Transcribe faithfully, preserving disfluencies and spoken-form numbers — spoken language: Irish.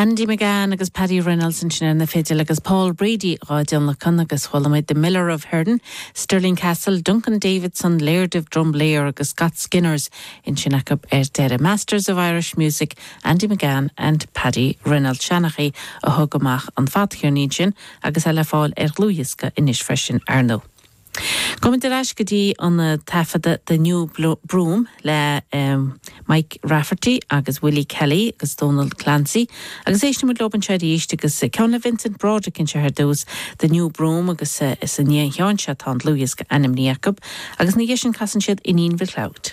Andy McGann agus Paddy Reynolds ansin ar na fidil agus Paul Brady á dtionlacan agus chuala muid the Miller of Herden, Stirling Castle, Duncan Davidson, Laird of Drumblair agus Scott Skinners ansin acu ar deireadh Masters of Irish Music, Andy McGann and Paddy Reynolds Seanchaí a thug amach an fadcheirnín sin agus é le fáil ar dhlúthdhiosca anois freisin ar ndóigh. Gabhfaimid ar ais go dtí an taifeadadh The New Broom le um, Mike Rafferty agus Willie Kelly agus Donald Clancy, agus éistfimid leo anseo arís agus ceann le Vincent Broderick anseo ar dtús The New Broom agus uh, is an cheann seo tá an dlúthdhiosca ainmnithe acu, agus ina dhiaidh sin casann siad Iníon Mhic Leod.